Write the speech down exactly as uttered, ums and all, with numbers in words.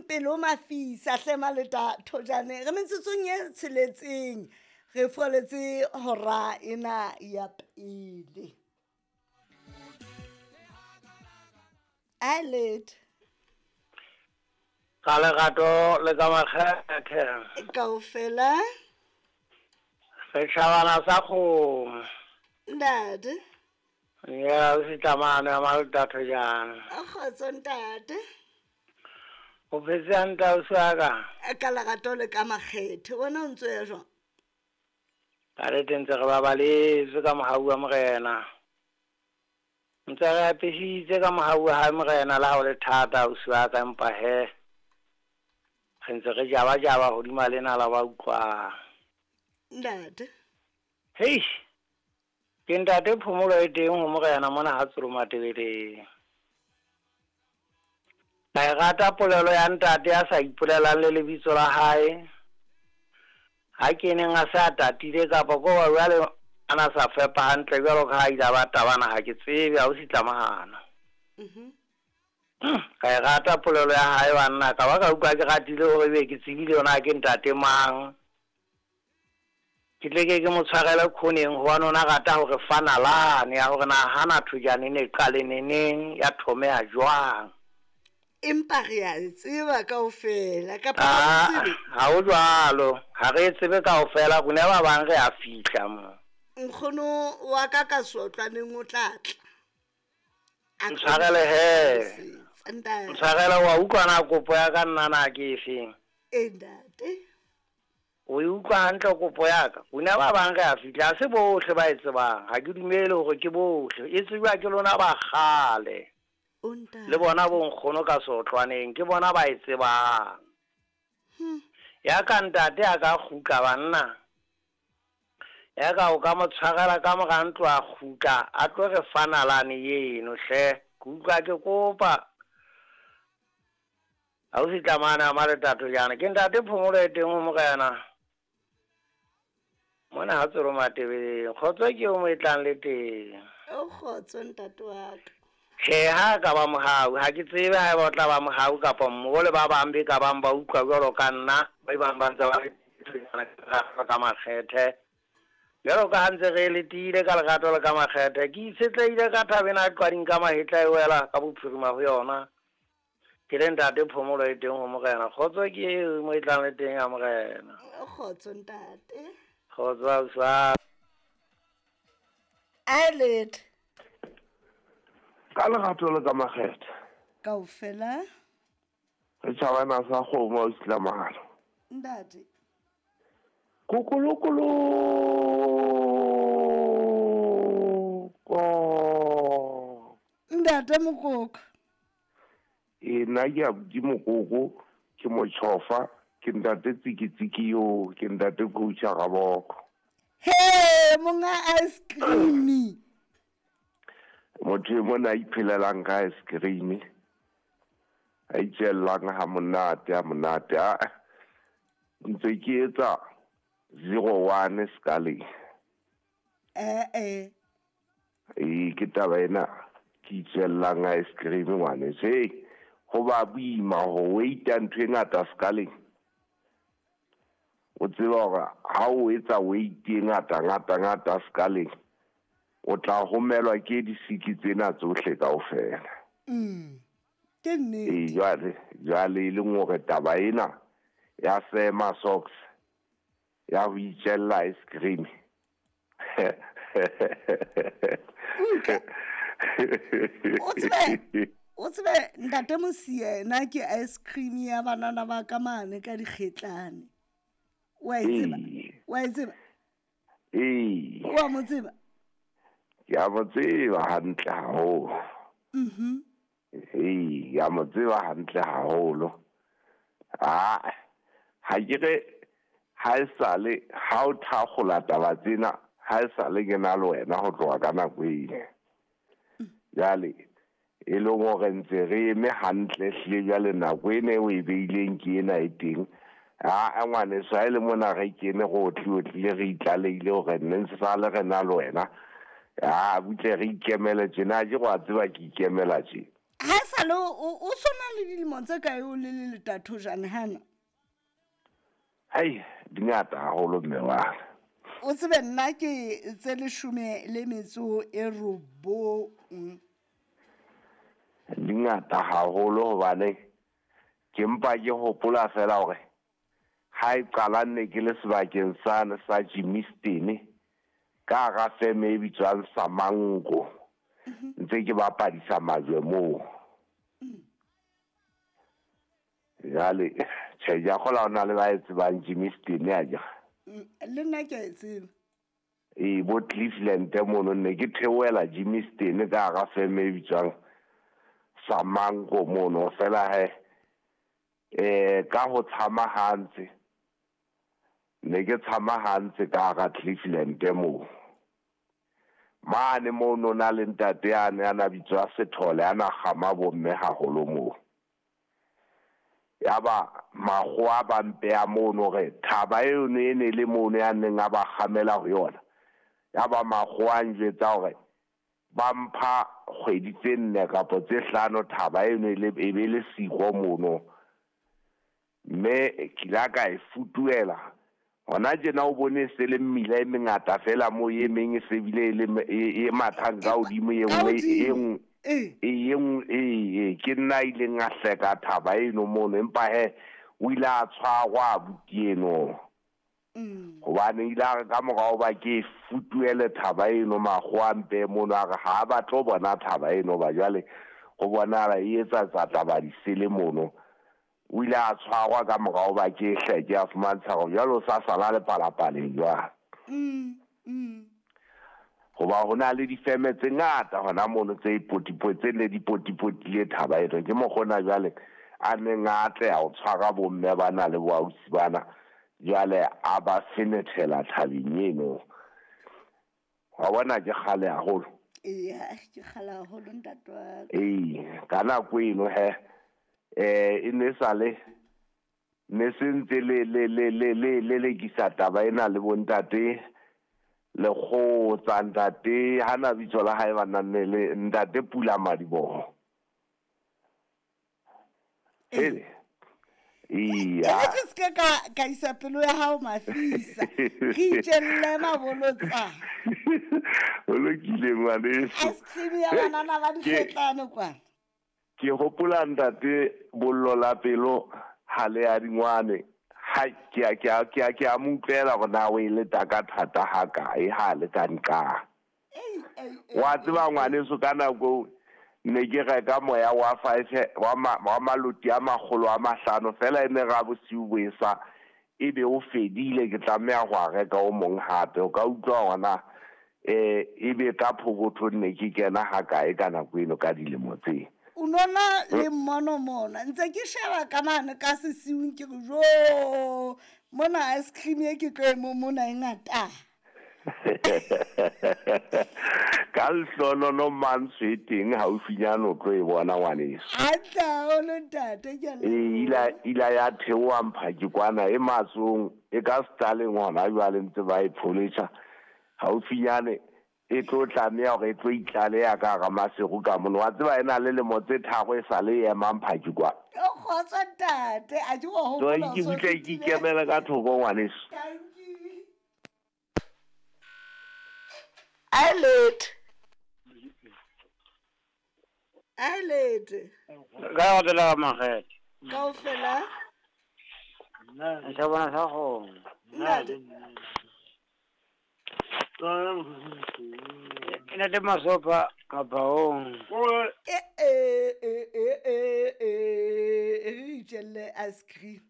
pelo mafisa hle maleta thojane re metsotsong e tsheletseng re foletse hora ena ya pele. Alet ka lerato le ka makgethe kaofela setjhabana sa kgomo ntate ya setlamane ya maleta thojane. A kgotso ntate. O phetse hantle ausi wa ka? Ka lerato le ka makgethe wena o ntso ya jwang? Ka re tentse re babaletswe ka mohau wa Morena. Ntse re apesitse ka mohau wa hae Morena le ha o le thata ausi wa ka, empa he re ntse re jaba-jaba hodima lena la ba utlwang. Ntate. Hei, ke ntate phomolo e teng ho Morena mona ha Tsolo Matebeleng. Ka e rata polelo ya ntate ya sa ipolelang le lebitso la hae. Ha ke neng a se a tatile kapa ko ba jwale a na sa fepa hantle jwalo ka ha ile ba tabana, ha ke tsebe ha o sitlamahana. Mhm. Ka e rata polelo ya hae banna, ka ba ka utlwa ke ratile hore ebe ke tsebile yona ke ntate mang. Ke tle ke ke mo tshwarele khoneng hobane o na rata hore fanalane ya hore na hana thojane ne qale neneng ya thomeha jwang. Empa re a e tseba kaofela kapa ha Ah, re tsebe? ha ho jwalo, ha re e tsebe kaofela, rona ba bang re a fihla mo. Nkgono wa ka ka seotlwaneng o tla tla. A tlo Ntshwarele he. hlalosetsa, ntate. Ntshwarele, wa utlwa na kopo ya ka nna na ke efeng? E ntate. O e utlwa hantle kopo ya ka? Rona ba bang re a fihla, ha se bohle ba e tsebang. Ha ke dumele hore ke bohle. E tsejwa ke lona ba kgale. O ntate. Le bona bo nkgono ka seotlwaneng, ke bona ba e tsebang. Hmm. Ya ka ntate a ka kgutla banna. Ya ka o ka mo tshwarela ka mora ntlo a kgutla, a tlo re fanalane eno hle. Ke utlwa ke kopa. Ha o sitlamane a maletato jana. Ke ntate phomolo e teng ho Morena. Mona ha Tsolo Matebeleng. Kgotso ke eo mo e tlang le teng. O kgotso ntate wa ka. Tjhe, ha ka ba mohau, ha ke tsebe ha eba o tla ba mohau kapa mmoho le ba bang be ka bang ba utlwa jwalo ka nna, ba bang ba ntse ba re ka makgethe. Jwalo ka ha ntse re letile ka lerato le ka makgethe, ke itshetlehile ka thabeng a qwading ka mahetla e wela ka bophirima ho yona. Ke le ntate phomolo e teng ho Morena. Kgotso ke eo mo e tlang le teng ya Morena. O kgotso ntate. Kgotso ausi wa. Alet. Ka lerato le ka makgethe. Kaofela. Re tjhabana sa kgomo ausi Tlamahalo. Ntate. Kokolokolo. Ko. Ntate Mokoko. E nna ke abuti Mokoko, ke motjhofa, ke ntate tsikitsiki yo, ke ntate coach Raboko. He, monga ice cream. Motho e mona a iphelelang ka ice cream, a itjellang ha monate, ha monate. A ntse ke etsa zero one skaleng. Eh, eh. E ke taba ena ke itjellang ice cream ngwaneso. Hey, ho ba boima ho weita ntho e ngata skaleng. O tseba hore ha o etsa weight e ngata, ngata, ngata skaleng, o tla homelwa ke disiki tsena tsohle kaofela. Mm. Ke nnete. E jwale, jwale e leng hore taba ena ya sema socks ya ho itjella ice cream. Utlwa. O tsebe, o tsebe ntate Mosiena ke ice cream ya banana ba ka mane ka dikgetlane. Wa e tseba? Ee. Wa e tseba? Ee. Wa mo tseba? Ke a mo tseba hantle haholo. Mhm. Ee, ke a mo tseba hantle haholo. Ah, ha ke re ha e sale ha o thakgola taba tsena, ha e sale ke na le wena ho tloha ka nako eno. Jwale e leng hore ntse re eme hantle hle jwale nako ena eo e beileng ke ena e teng. Ah, ngwaneso, ha e le mona re kene re otli-otlile re itlaleile hore nne ntse sale re na le wena. Ah, butle re ikemele tjena, ha ke re wa tseba ke ikemela tje. Ha e sale o o sona le dilemo tse kae o le le letatho jane hana? Hei, di ngata haholo mme wa ka. O tsebe nna ke tse leshome le metso e robong. Di ngata haholo hobane ke mpa ke hopola fela hore ha e qala nne ke le sebakeng sane sa Germiston ka hara feme e bitswang Samango, ntse ke bapadisa majwe moo. Jwale tjhe, ke a kgolwa ho na le ba e tsebang Germiston akere. Le nna ke a e tseba. Ee, bo Cleveland mono ne ke theohela Germiston ka hara feme e bitswang Samango mono. Fela he eh ka ho tshama hantse, ne ke tshama hantse ka hara Cleveland moo. Mane mono na le ntate yane a na bitswa Sethole, a na kgama bomme haholo moo. Yaba makgowa ba mpeha mono hore thaba eno e ne le mono ya neng a ba kgamela ho yona. Yaba makgowa a njwetsa hore ba mpha kgwedi tse nne kapa tse hlano thaba eno e le e be le siko mono. Mme ke la ka e futuela. Hona tjena o bone se le mmila e mengata fela moo e meng e se bile e le e e mathang ka hodimo e Ka nngwe e hodimo. nngwe Ee. e nngwe e ke nna a ileng a hleka thaba eno mono, empa he o ile a tshwarwa abuti eno. Mm. Hobane ile a re ka morao ba ke futuele thaba eno, makgowa a mpehe mono, a re ha ba tlo bona thaba eno ba jwale ho bonahala e etsa tsa taba di sele mono. O ile a tshwarwa ka morao ba ke hleke, a fumantsha hore jwale o sa sala lepalapaleng jwale. Mm. Mm. Hoba ho na le difeme tse ngata hona mono tse ipotipo tse ne di potipotile thaba eno. Ke mokgona jwale a neng a atleha ho tshwara bomme bana le boausi bana, jwale a ba fenethela thabeng eno. Wa bona ke kgale haholo. Eya, ke kgale haholo ntate wa ka. Ee, ka nako eno he eh e ne sale ne se ntse le le le le le le lekisa taba ena le bontate lekgotsa ntate hana bitso la hae ba nne le ntate Pula Madiboho. Hele. Iya. E ke se ka ka isa pelo ya hao mafisa. Re itjelle mabolotsa. O lokile ngwaneso. Ice cream ya banana ba dikgetlane kwana. Ke hopola ntate bollo la pelo ha le ya dingwane. Ha ke a ke a ke a ke a mo utlwela hore na o e leta ka thata ha kae ha le ka nqa. Wa tseba ngwaneso ka nako ne ke reka moya wa five wa ma, wa maloti a makgolo a mahlano fela e ne ra bosiu bo esa e be o fedile, ke tlameha ho a reka o mong hape. O ka utlwa hona eh e be ka phokotho ne ke kena ha kae ka nako eno ka dilemo tse. O nona le mmono mona ntse ke sheba ka mane ka sesiung ke re jo mona ice cream e ke tlo e mo mona e ngata. Ka lehlohonolo mantswe e teng haufinyane o tlo e bona ngwaneso. Hantle haholo ntate, ke a leboha. Ee, ila ila ya theoha mphaki kwana e matsong e ka setaleng hona jwale ntse ba e pholetjha. Haufinyane e tlo tlameha hore e tlo itlaleha ka hara Maseru ka mono. Wa tseba e na le lemo tse tharo e sa le e emang mphaki kwa. O kgotso ntate, a ke wa So, hopola ke o so utlwe ke fetile. ikemele ka thoko ngwaneso. Thank you. Eyelid. Eyelid. Ka go tlela makgethe. Kaofela. Sa bona sa kgomo. Ntate. E na le masopa kapa o. E e e e e e e re itjelle ice cream.